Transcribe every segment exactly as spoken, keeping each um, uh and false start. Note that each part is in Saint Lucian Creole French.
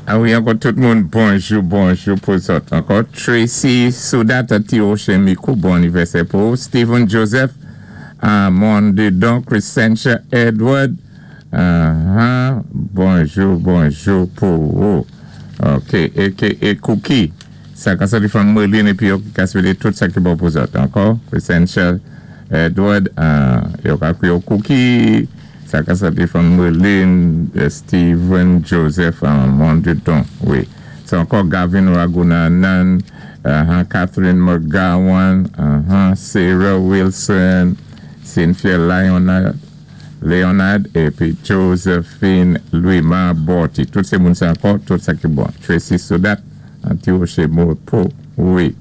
A wi, ankò tout moun, bonjou, bonjou pou zòt. Ankò, Tracy Soudat Tiroche Mikou, bon anivèsè pou Stephen Joseph, uh, Mondedon, Crescentia Edward, uh, bonjou, bonjou pou ou. Ok, A K A Cookie, sa ka soti from Merlin épi yo ka swété tout sa ki bon pou zòt. Ankò, Crescentia Edward, uh, yo ka kwiyé Cookie, sa ka soti from Merlin, Stephen Joseph, uh, Mondedon, wi. So ankò Gavin Ragunanan, uh, Catherine McGowan, uh, Sarah Wilson, Cynthia Leonard, Leonard, épi Josephine Louis-Mar Borty. Tout sé moun sa ankò, tout sa ki bon. Tracy Soudat, Anti-Rocher pou, wi.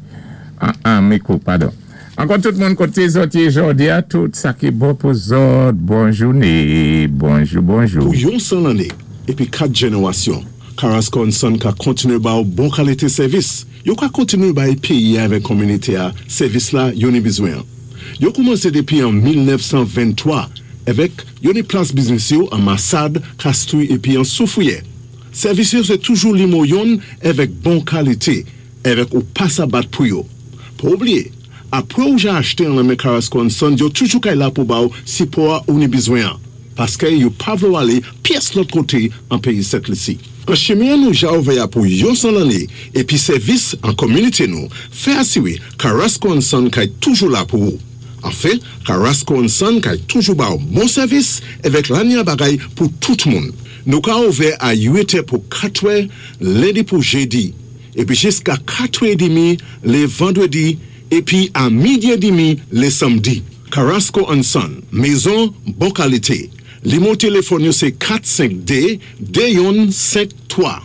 An, an, Mikou, padon. Ankò tout moun koté zòt yé jòdi a, tout sa ki bon pou zòt, bon jouné, bonjou, bonjou. Pou yon san lanné, épi kat jénéwasyon, Carrasco and Son ka kontiné ba ou bon kalité sèvis. Yo ka kontiné bay péyi avèk kominité a sèvis la yo ni bizwen. Yo koumansé dépi an mil nèf san venntwa avèk yo ni plas biznis yo an Massade, Castries épi an Soufrière. Sèvis yo sé toujou nimewo youn avèk bon kalité, avèk ou pa sa bat pou yo. Pa oubliyé, apwé ou ja achté an nan men Carrasco and Son, yo toujou kay la pou ba ou sipò ou ni bizwen an. Paské yo pa vlé ou alé pyès lòt koté an péyi Sent Lisi. An chimen nou ja ouvè a pou yon san lanné épi sèvis an kominité nou, fè asiwé Carrasco and Son kay toujou la pou ou. Anfen, Carrasco and Son kay toujou ba ou bon sèvis avèk lanya bagay pou tout moun. Nou ka ouvè a uit è pou katwè, lendi pou jédi, épi jiska katwè édmi lé vandwédi, épi a midi édmi lé samdi. Carrasco and Son, mézon bon kalité. Nimewo téléfòn yo sé kat senk dé, dé youn senk twa.